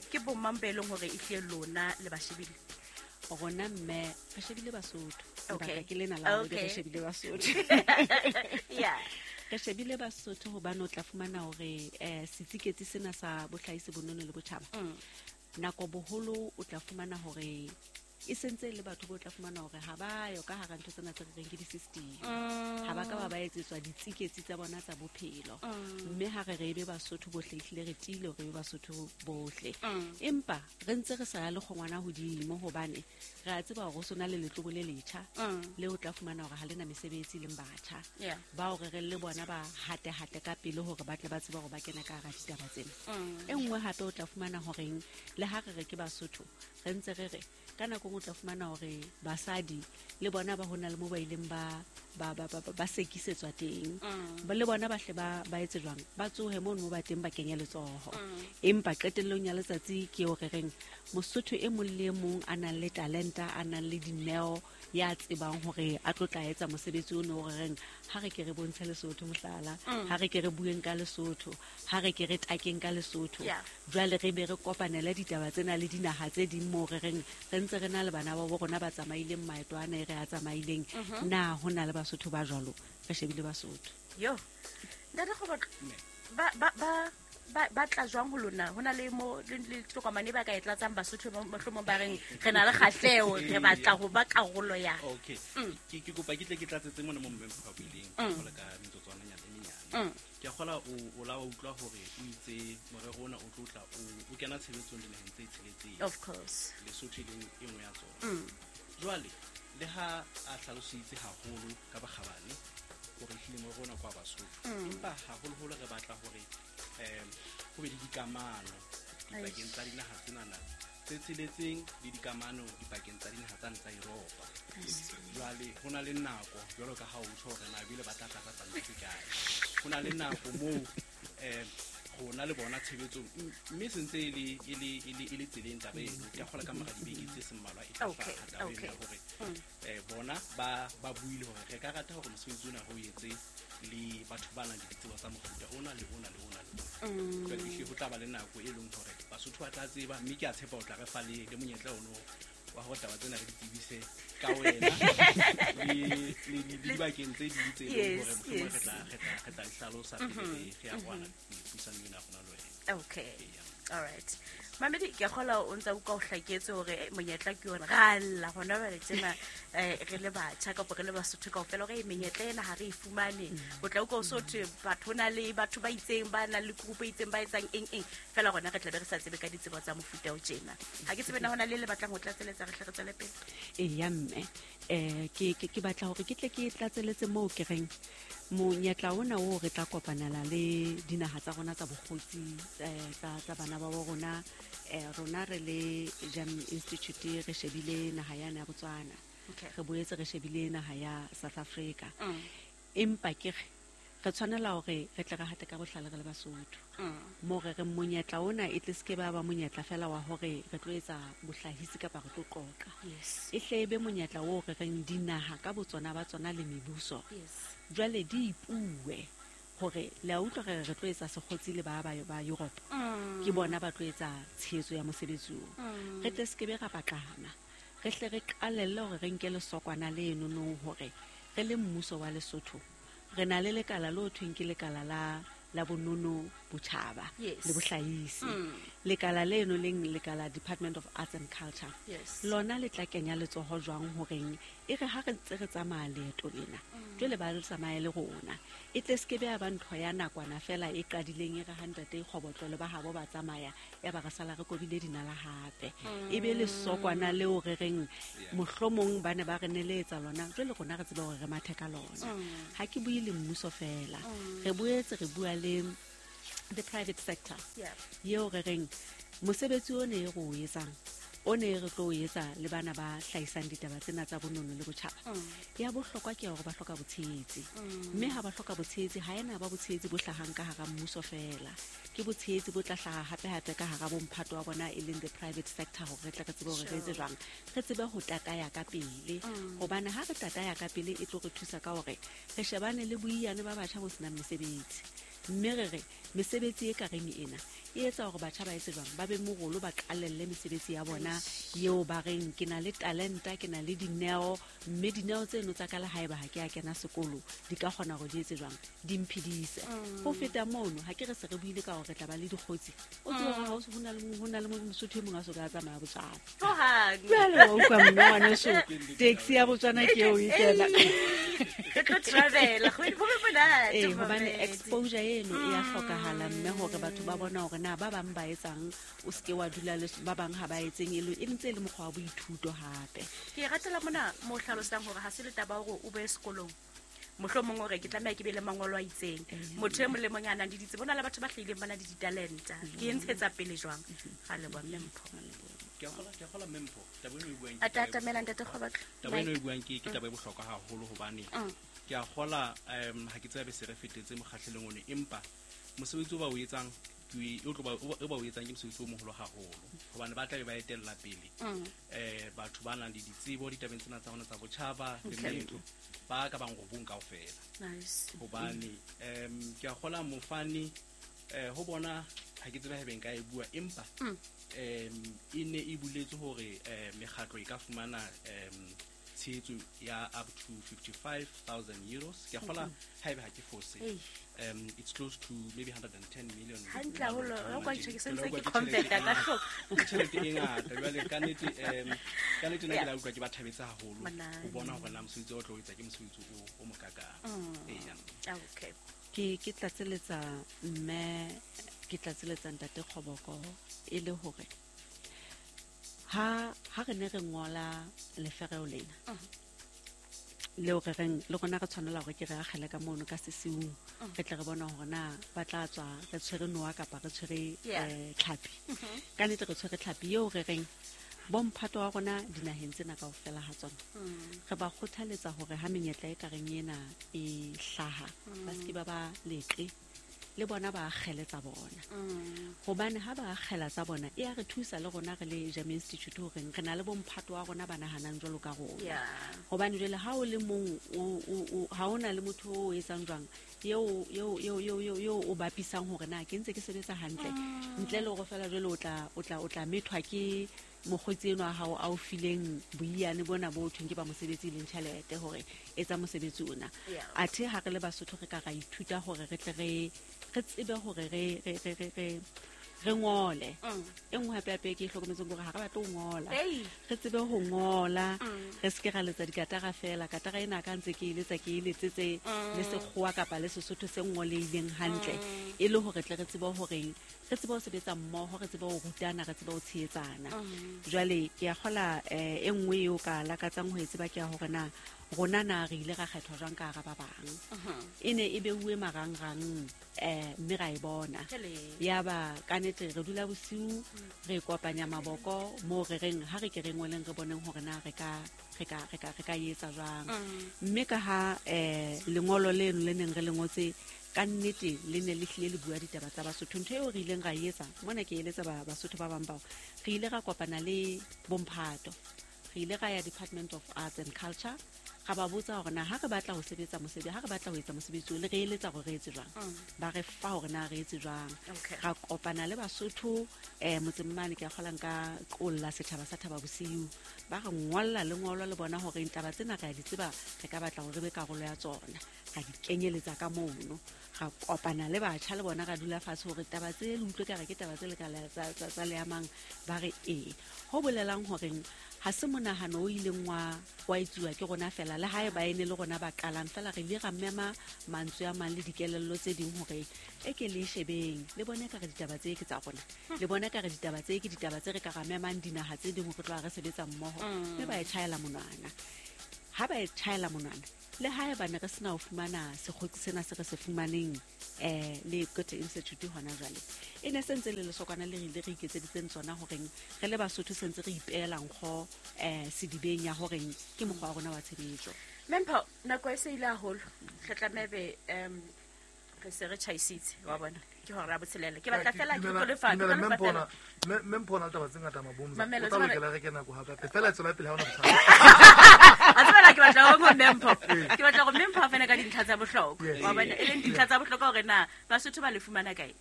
C: ke bomang be leng hore ehlile lona le ba shebile?
E: Rona mme re shebile Basotho. Lebaka ke lena la hore re shebile Basotho. Re shebile Basotho hobane o tla fumana hore setsiketsi sena sa bohlahisi, bonono le botjhaba, nako boholo o tla fumana hore e sentse le batho bo tla fumana hore ha ba yo ka hara ntho tsena tse re reng ke di-system, ha ba ka ba ba etsetswa ditsiketsi tsa bona tsa bophelo. Mme ha re re ebe Basotho bohle, ehlile re tiile hore ebe Basotho bohle, empa re ntse re sa ya le kgongwana hodimo, hobane re a tseba hore ho sona le letlobo le letjha le o tla fumana hore ha le na mesebetsi, leng batjha bao re reng le bona ba hate-hate ka pele hore ba tle ba tsebe hore ba kena ka hara ditaba tsena. E nngwe hape o tla fumana horeng le ha re re ke Basotho, re ntse re re ka nako nngwe o tla fumana hore basadi le bona ba hona le mo ba ileng ba sekisetswa teng. Ba le bona ba hle ba etse jwang, ba tsohe mono mo ba teng, ba kenye letsoho. Empa qetellong ya letsatsi ke eo re reng Mosotho e mong le e mong a nang le talenta, a nang le dineo, ya tsebang hore a tlo tla etsa mosebetsi ono o re reng ha re ke re bontshe Lesotho mohlala, ha re ke re bueng ka Lesotho, ha re ke re takeng ka Lesotho. Jwale re be re kopanele ditaba tsena le dinaha tse ding moo re reng re ntse re na le bana ba bo rona ba tsamaileng maeto ana e re a tsamaileng. Na ho na le Basotho ba jwalo? Re shebile Basotho.
C: Yo, ntate Kgobotlo, ba tla jwang ho lona? Ho na le mo le tokomane ba ka e tlatsang Basotho mohlomong ba reng re na le kgahleho, re batla ho ba karolo ya?
D: Okay. Ke kopa ke tle ke tlatsetse mona mo mme Mpho a buileng, jwalo ka metsotswananyana e menyane. Ke a kgola o la wa utlwa hore o itse morero ona o tlo tla o kena tshebetsong dinaheng tse tsheletseng.
C: Of course.
D: Lesotho e leng e nngwe ya tsona. Jwale le ha a hlalositse haholo ka bokgabane hore ehlile morero ona ke wa Basotho, empa haholoholo re batla hore ho be le dikamano dipakeng tsa dinaha tsenana tse tsheletseng le dikamano dipakeng tsa dinaha tsane tsa Europa. Jwale ho na le nako, jwalo ka ha o tjho hore na ebile ba tla tlatsa pampiri kae, ho na le nako moo rona le bona tshebetsong, mme se ntse e le tseleng taba eno. Ke a kgola ka mora dibeke tse seng mmalwa e tla hlaha taba eno ya hore bona ba buile hore re ka rata hore mosebetsi ona re o etse le batho ba nang le ditsebo tsa mofuta ona le ona le ona le ona. Jwale ehlile ho tla ba le nako e leng hore Basotho ba tla tseba, mme ke a tshepa o tla re fa le monyetla ono wa hore taba tsena re di tsebise ka wena le dibakeng tse ding tse leng hore mohlomong re tla di hlalosa pele re ya kwana puisanong ena ya rona le wena.
C: All right. Mamedi, ke a kgola o ntsa utlwa o hlaketse hore monyetla ke yona. Ra lla hona jwale tjena, re le batjha kapa re le Basotho kaofela hore menyetla ena ha re e fumane. O tla utlwa o so thwe batho, ho na le batho ba itseng ba nang le group e itseng ba etsang eng eng, fela rona re tla be re sa tsebe ka ditsebo tsa mofuta o tjena. Ha ke tsebe na hona le le batlang ho tlatseletsa, re hle re tswele pele.
E: Eya mme, ke batla hore ke tle ke tlatseletse moo ke reng monyetla ona oo re tla kopanela le dinaha tsa rona tsa bokgotsi, tsa bana ba bo rona. Rona re le Jam Institute re shebile naha yane ya Botswana. Re boetse re shebile naha ya South Africa. Empa ke re tshwanela hore re tle re hate ka bohlale re le Basotho. Moo re reng monyetla ona e tle se ke ba ba monyetla fela wa hore re tlo etsa bohlahisi kapa re tlo qoqa. E hle e be monyetla oo re reng dinaha ka botsona ba tsona le mebuso. Jwale di ipuwe hore le a utlwa re re tlo etsa sekgotsi le ba Europe. Ke bona ba tlo etsa tshehetso ya mosebetsi oo. Re tle se ke be ra paqama. Re hle re qalelle hore re nke lesokwana le nonong hore re le mmuso wa Lesotho re na le lekala le ho thweng ke lekala la bonono botjhaba le bohlahisi. Lekala leno leng lekala Department of Arts and Culture. Lona le tla kenya letsoho jwang horeng e re ha re ntse re tsamaya leeto lena, jwale ba le tsamaye le rona. E tle se ke be ya ba ntho ya nakwana fela e qadileng e re ha ntate Kgobotlo le ba habo ba tsamaya, ya ba re sala re kobile dinala hape. E be lesokwana leo re reng mohlomong ba ne ba re neletsa lona, jwale rona re tsebe hore re mathe ka lona. Ha ke bue le mmuso fela, re boetse re bua le the private sector. Eo re reng mosebetsi ona e re o etsang O ne re tlo o etsa le bana ba hlahisang ditaba tsena tsa bonono le botjhaba. Ya bohlokwa ke hore ba hloka botshehetsi. Mme ha ba hloka botshehetsi, ha ena ba botshehetsi bo hlahang ka hara mmuso fela. Ke botshehetsi bo tla hlaha hape-hape ka hara bomphato wa bona e leng the private sector, hore re tle re tsebe hore re etse jwang, re tsebe ho tataya ka pele. Hobane ha re tataya ka pele, e tlo re thusa ka hore re shebane le boiyane ba batjha bo senang mesebetsi. Mme re re mesebetsi e ka reng ena e etsa hore batjha ba etse jwang, ba be morolo, ba qalelle mesebetsi ya bona eo ba reng ke na le talenta, ke na le dineo, mme dineo tseno tsa ka le haeba ha ke a kena sekolo di ka kgona hore di etse jwang, di mphedise. Ho feta mono, ha ke re se re buile ka hore re tla ba le dikgotsi, o tsebe hore ha o se ho na le ho na le Mosotho e mong a so ka a tsamaya Botswana.
C: Hohang.
E: Jwale wa utlwa mme ngwaneso, taxi ya Botswana ke eo e kena.
C: Re tlo travela, go be monate,
E: Ee, hobane
C: mamedi.
E: exposure eno e ya hlokahala, mme hore batho ba bona hore na ba bang ba etsang, o seke wa dula le ba bang ha ba etseng, e e ntse e le mokgwa wa boithuto hape.
C: Ke e ratela mona mo hlalosang hore ha se le taba hore o be sekolong, mohlomong hore ke tlameha ke be le mangolo a itseng. Motho e mong le mong a nang le ditsebo, ho na le batho ba hlahileng ba na le ditalenta. Ke e ntshetsa pele jwang? Ga leboha, mme Mpho.
D: Ke a kgola mme Mpho, taba eno e buang
C: A
D: ke taba e
C: tatamela ntate Kgobatlo.
D: Taba eno e buang ke taba e bohlokwa haholo, hobane ke a kgola ha ke tsebe se re fetetse mokgahlelong ono, empa mosebetsi o ba o etsang ke o tlo ba o ba o etsang ke mosebetsi o moholo haholo, hobane ba tla be ba etella pele batho ba nang le ditsebo ditabeng tsena tsa rona tsa botjhaba le meetlo ba ka bang robong kaofela. Hobane ke a kgola mofani ho bona ha ke tsebe haebe nka e bua, empa e ne e buletse hore mekgatlo e ka fumana tshehetso ya up to €55,000. Ke a kgola haebe ha ke fose, it's close to maybe 110 million.
C: Hantle haholo, ha o ka tjho, ke sentse
D: Ke
C: ke converta ka hloko.
D: Ke tjhelete e ngata. Jwale ka nnete nna ke la utlwa ke ba thabetse haholo
C: Monate.
D: ho bona hore na mosebetsi o tlo o etsa ke mosebetsi o mokakang. Eya.
C: Okay.
E: Ke tlatseletsa mme, ke tlatseletsa ntate Kgoboko, e le hore ha re ne re ngola lefereo lena leo re reng le rona re tshwanela hore ke re akgele ka mono ka sesiung, re tle re bona hore na ba tla tswa re tshwere noa kapa re tshwere tlhapi. Ka nnete re tshwere tlhapi eo re reng bomphato wa rona dinaheng tsena kaofela ha tsona, re ba kgothaletsa hore ha menyetla e ka reng ena e hlaha, ba seke ba ba leqe le bona ba akgele tsa bona, hobane ha ba akgela tsa bona e ya re thusa le rona re le Jam Institute horeng re na le bomphato wa rona ba nahanang jwalo ka rona. Hobane jwale ha o le mong, ha o na le motho o etsang jwang eo o bapisang hore na ke ntse ke sebetsa hantle, ntle le hore fela jwale o tla methwa ke mokgotsi eno wa hao a o fileng boiyane bona bo thweng ke ba mosebetsi, e leng tjhelete hore etsa mosebetsi ona. Athe ha re le Basotho re ka ra ithuta hore re tle re tsebe hore re ngole. E nngwe hape hape ke e hlokometseng hore ha re batle ho ngola, re tsebe ho ngola, re seke ra letsa dikatara fela. Katara ena ka ntse ke e letsa, ke e letsetse le Sekgowa kapa le Sesotho se ngoleileng hantle, e le hore tle re tsebe horeng re tsebe ho sebetsa mmoho, re tsebe ho rutana, re tsebe ho tshehetsana. Jwale ke a kgola e nngwe eo ka lakatsang ho e tseba ke ya hore na rona na re ile ra kgethwa jwang ka hara ba bang. E ne e beuwe marangrang, mme ra e bona. Ya ba ka nnete re dula bosiu re kopanya maboko moo re reng ha re ke re ngoleng, re boneng hore na re ka etsa jwang. Mme ka ha lengolo leno le neng re le ngotse ka nnete le ne le hlile le bua ditaba tsa Basotho, ntho eo re ileng ra e etsa mona, ke eletsa Basotho ba bang bao, re ile ra kopana le bomphato, re ile ra ya Department of Arts and Culture, ra ba botsa hore na ha re batla ho sebetsa mosebetsi, ha re batla ho etsa mosebetsi o, le re eletsa hore re etse jwang. Ba re fa hore na re etse jwang. Ra kopana le Basotho motseng mane, ke a kgolang ka qolla setjhaba sa Thaba Bosiu, ba re ngolla lengolo le bona hore taba tsena re a di tseba, re ka batla hore re be karolo ya tsona, ra di kenyeletsa ka mono. Ra kopana le batjha le bona, ra dula fatshe hore taba tse le utlwe ka re ke taba tse le ka tsa le amang, ba re ee. Ho bolelang horeng ha se monahano o ileng wa etsuwa ke rona fela, le hae ba ene le rona ba qalang fela, re ile ra mema mantswe a mang le dikelello tse ding hore e ke le shebeng le bone ka re ditaba tse ke tsa rona, le bone ka re ditaba tse ke ditaba tse re ka ra memang dinaha tse ding hore tloha re sebetsa mmoho, mme ba e tjhaela monwana. Ha ba e tjhaela monwana le ha eba ne re sena ho fumana sekgotsi sena se re se fumaneng le Goethe Institute hona jwale, e ne sentse le lesokwana le re ile re iketseditseng tsona horeng re le Basotho sentse re ipeela nkgo sedibeng ya horeng ke mokgwa wa rona wa tshebetso.
C: Mempho, nako e se ile haholo, re tlamebe re se re tjhaisitse wa bona ke hora ya botshelela. Ke batla fela ke tlo lefa
A: Mempho na taba tse ngata mabomza o tla lokela re kena go hape fela tswela pele ha ona bothata.
C: A tswela ke batla go Mempho, ke batla go Mempho a fana ka dintlha tsa bohlokwa wa bona, e leng dintlha tsa bohlokwa hore na Basotho ba le fumana kae.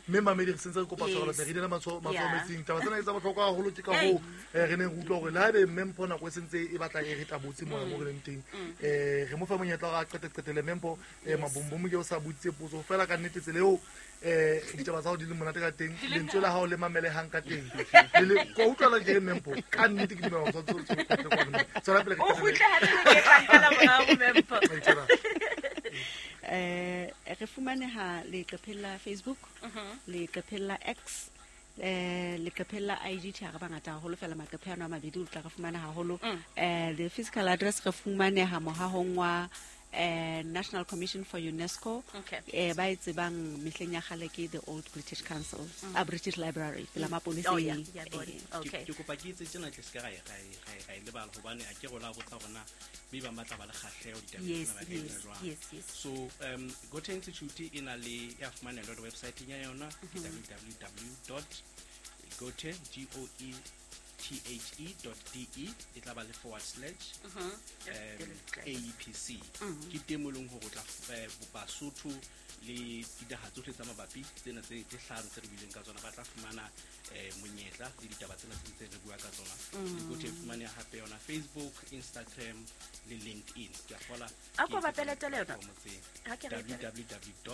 A: Mme mamedi re sentse re kopa tshwarelo re ile matshwao metsing taba tsena ke tsa bohlokwa haholo, ke ka hoo re neng re utlwa hore le haebe Mempho nako e sentse e batla e re tabotse mona mo re leng teng, re mo fa monyetla hore a qeteqetele Mempho. Mabombomo ke o sa boditse potso fela ka nnete tsela eo ditaba tsa hao di le monate ka teng, lentswe la hao le mamelehang ka teng, le ko utlwala ke re Mempho ka nnete ke dumela hore tswela pele.
C: O kgutle hape ke tla nkela morao Mempho.
E: Re fumaneha leqepheng la Facebook, leqepheng la X, leqepheng la IG. Tjhe, re bangata haholo fela maqephe ano a mabedi o tla re fumana haholo. The physical address re fumaneha mohahong wa National Commission for UNESCO, ba e tsebang mehleng ya kgale ke the Old British Council, a British Library pela maponeseng.
D: Ke kopa ke etse tjena tle se ka ra e lebala hobane a ke rola botsa hore na be ba batla ba le kgahleho ditabeng tsena ba ka etsa jwang. So Goethe Institute e na le ya fumanela le website ya yona ke www.goethe goethe.de, e tla ba le / AEPC. Ke teng mo leng hore o tla Basotho le dinaha tsohle tsa mabapi tsena tse hlano tse re buileng ka tsona ba tla fumana monyetla le ditaba tsena tse ntse re bua ka tsona. Le Goethe fumaneha hape yona Facebook, Instagram le LinkedIn. Ke a fola
C: a ko ba peletele yona
D: ha ke re www.gothe.de.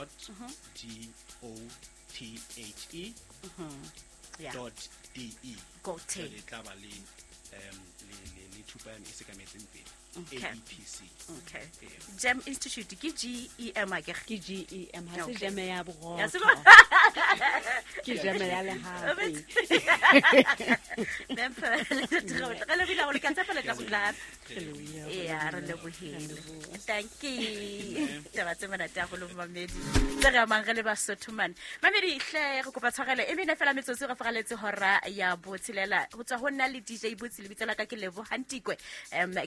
C: Goethe
D: le tla ba le le thupa ya e sekametseng pele AEPC.
C: Okay. Gem Institute ke GEM a ke
E: GEM, ha se gem ya borotho, ke gem ya lehape.
C: Mempho re le bile go le ka tshepa le tla kgutla. Ya re lebohile. Thank you. Taba tse monate haholo mamedi tse re amang re le Basotho mane. Mamedi hle re kopa tshwarelo e mene fela metsotso re faraletse hora ya botshelela ho tswa ho nna le DJ Botsi lebitso la ka ke Lebo Hantikwe,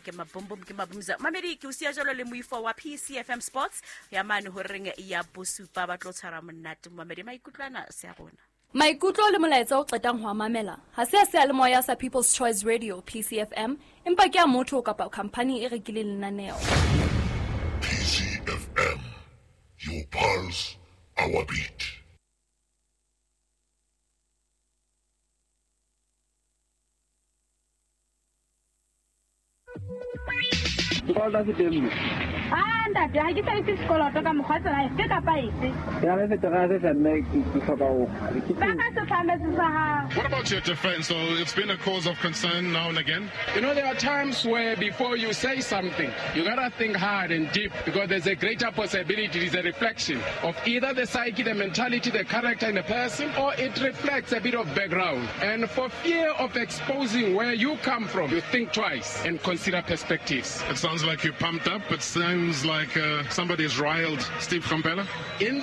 C: ke Mabombo ke Mabumza. Mamedi ke o siya jalo le moifo wa PCFM Sports ya mane horeng ya bosupa ba tlo tshwara monate. Mamedi maikutlwana se a rona.
F: Maikutlo le molaetsa o qetang ho mamela ha se a seyalemoya sa People's Choice Radio PCFM, empa ke a motho kapa company e rekileng lenaneo.
G: PCFM, your pulse, our beat.
H: Ah, ntate, ha ke sebedise sekoloto ka mokgwa tsela efe kapa efe.
I: Ke na le seterase sa mme ke hloka ho.
H: Ba ka setlhametse sa hao.
J: What about your defense? So it's been a cause of concern now and again.
K: You know, there are times where before you say something, you gotta think hard and deep, because there's a greater possibility it is a reflection of either the psyche, the mentality, the character in the person, or it reflects a bit of background. And for fear of exposing where you come from, you think twice and consider perspectives.
J: It sounds like you're pumped up. It sounds like somebody's riled Steve Komphela.
K: In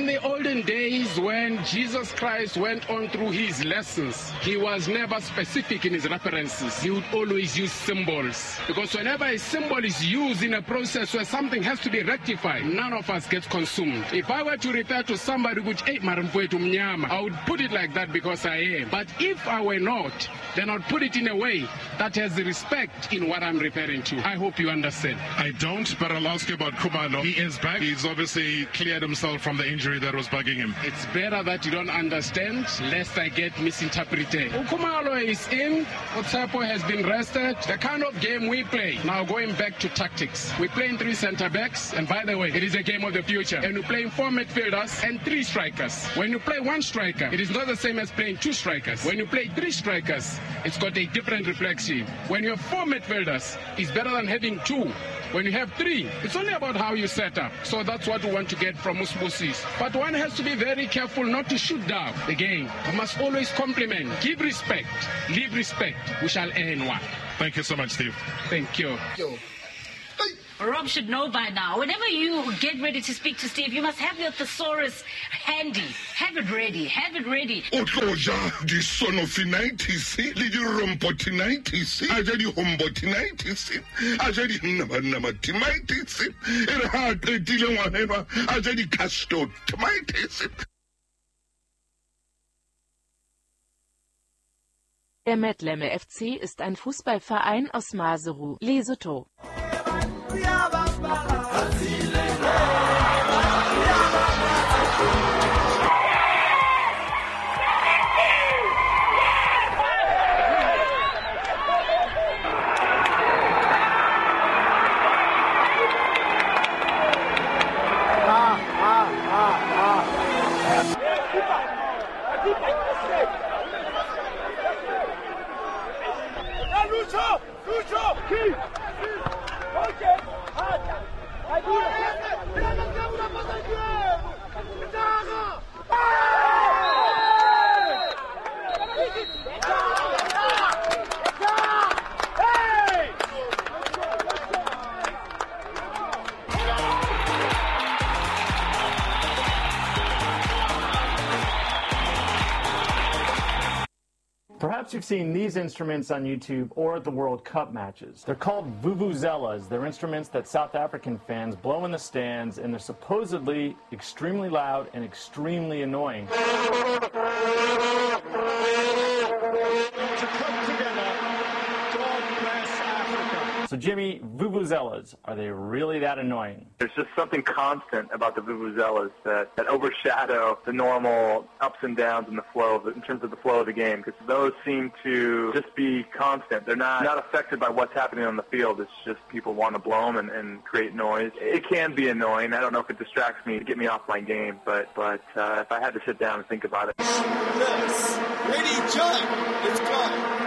K: the olden days when Jesus Christ went on through his lessons, he was never specific in his references. He would always use symbols, because whenever a symbol is used in a process where something has to be rectified, none of us gets consumed. If I were to refer to somebody which ate maramfwetu mnyama, I would put it like that because I am. But if I were not, then I'd put it in a way that has the respect in what I'm referring to. I hope you understand.
J: I don't, but I'll ask you about Khumalo. He is back. He's obviously cleared himself from the injury that was bugging him.
K: It's better that you don't understand, lest I get misinterpreted. Khumalo is in. Otsepo has been rested. The kind of game we play, now going back to tactics, we play in 3 centre-backs, and by the way, it is a game of the future. And we play 4 midfielders and 3 strikers. When you play 1 striker, it is not the same as playing 2 strikers. When you play 3 strikers, it's got a different reflection. When you have 4 midfielders, it's better than having 2. When you have 3, it's only about how you set up. So that's what we want to get from Usbusis. But one has to be very careful not to shoot down the game. We must always compliment, give respect, leave respect. We shall earn one.
J: Thank you so much, Steve.
K: Thank you.
A: Yo.
L: Rob should know by now. Whenever you get ready to speak to Steve, you must have your thesaurus handy. Have it ready. Have it ready.
G: O tlo ja disonofinitis le dirompotinitis, a ja dihombotinitis, a ja dinnamanamatitis, e re ha a qetile ngwana enwa a ja dicastotomitis.
M: Der Metleme FC ist ein Fußballverein aus Maseru, Lesotho.
N: Perhaps you've seen these instruments on YouTube or at the World Cup matches. They're called vuvuzelas. They're instruments that South African fans blow in the stands, and they're supposedly extremely loud and extremely annoying.
O: To come together, God bless Africa.
N: So Jimmy, vuvuzelas, are they really that annoying?
P: There's just something constant about the vuvuzelas that overshadow the normal ups and downs in the flow, in terms of the flow of the game, because those seem to just be constant. They're not affected by what's happening on the field. It's just people want to blow them and create noise. It can be annoying. I don't know if it distracts me to get me off my game, but if I had to sit down and think about it.
O: Yes. Ready, jump. It's gone.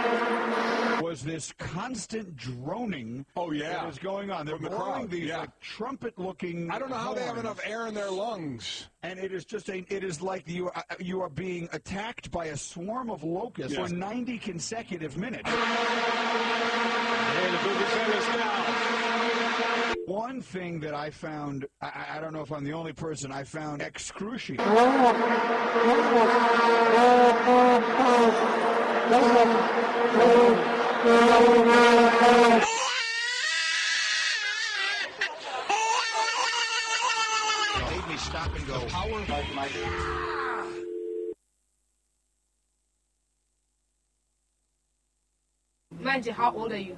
Q: Was this constant droning
O: that
Q: is going on. They're blowing these like trumpet-looking
O: I don't know how
Q: horns.
O: They have enough air in their lungs.
Q: And it is just it is like you are being attacked by a swarm of locusts for 90 consecutive minutes.
O: Hey, the vuvuzelas now.
Q: One thing that I found, I don't know if I'm the only person, I found excruciating.
R: Made me stop and go. Power of my.
H: Manje, how old are you?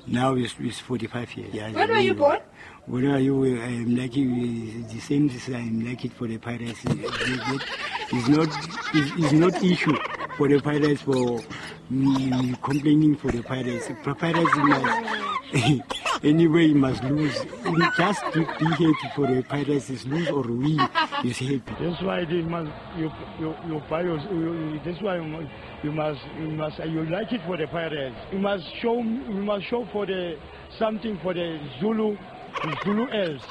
S: Now it's 45 years. Yeah,
H: when were you born?
S: When are you? I'm lucky. The same as I'm lucky for the Pirates. It's not issue for the Pirates for me complaining for the Pirates. Pirates must anyway must lose. Just to be happy for the Pirates is lose or win is happy.
T: That's why they must you buy your, that's why you must you like it for the Pirates. You must show for the something for the Zulu else.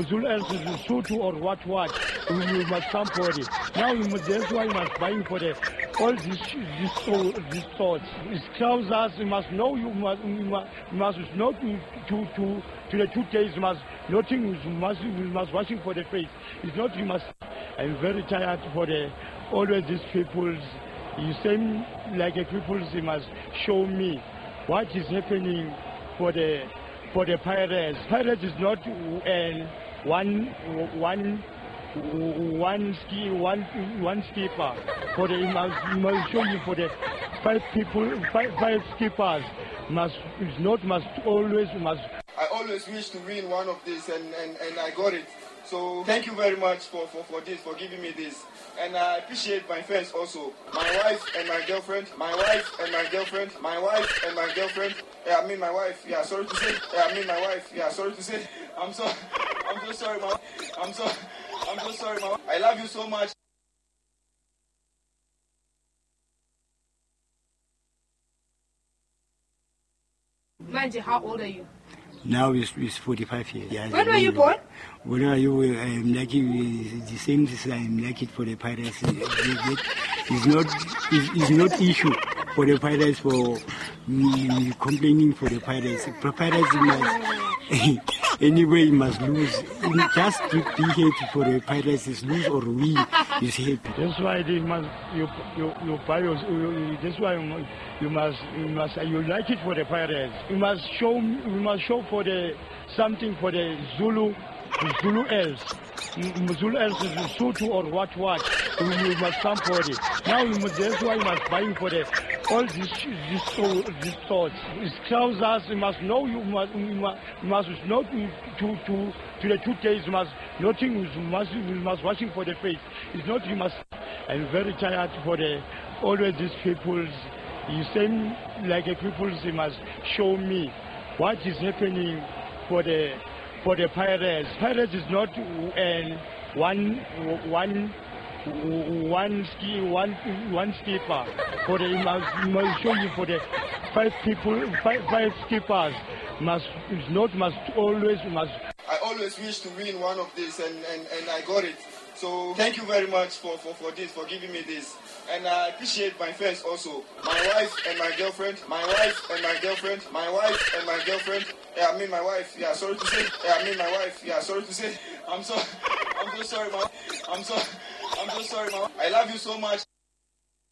T: Zulu else is Sotho or what. You must come for it. Now you must, that's why you must buy for the all these thoughts. It's trousers. You must know. You must not to the 2 days. You must nothing. You must washing for the face. It's not you must. I'm very tired for the always these people. You same like a people. You must show me what is happening for the Pirates. Pirates is not one skipper. For the must show you for the five people, five skippers must always.
U: I always wish to win one of these, and I got it. So thank you very much for this, for giving me this. And I appreciate my friends also. My wife and my girlfriend, my wife and my girlfriend, my wife and my girlfriend. Yeah, I mean my wife. Yeah, sorry to say. Yeah, I mean my wife. Yeah, sorry to say. I'm so sorry, ma. I'm so sorry, ma. I love you so much.
H: Manje, how old are you?
S: Now it's 45 years. Yeah,
H: when were you born?
S: When are you? I'm lucky. The same as I'm lucky for the Pirates. It's not issue for the Pirates for me complaining for the Pirates. Pirates must Anyway, you must lose. You just be happy for the Pirates. Is lose or win, is happy.
T: That's why they must you buy your, that's why you must you like it for the Pirates. You must show for the something for the Zulu else. Zulu else is Sotho or what. You must come for it. Now you must, that's why you must buy for the all these thoughts. It's trousers. You must know. You must not to the 2 days. You must nothing. You must watching for the face. It's not you must. I'm very tired for the always these people. You same like a people. You must show me what is happening for the Pirates. Pirates is not one skipper. For the must show you for the five people, five skippers must always.
U: I always wish to win one of these, and I got it. So thank you very much for this, for giving me this. And I appreciate my fans also. My wife and my girlfriend, my wife and my girlfriend, my wife and my girlfriend. Yeah, I mean my wife. Yeah, sorry to say. Yeah, I mean my wife. Yeah, sorry to say. I'm so sorry, ma. I'm so sorry, ma. I love you so much.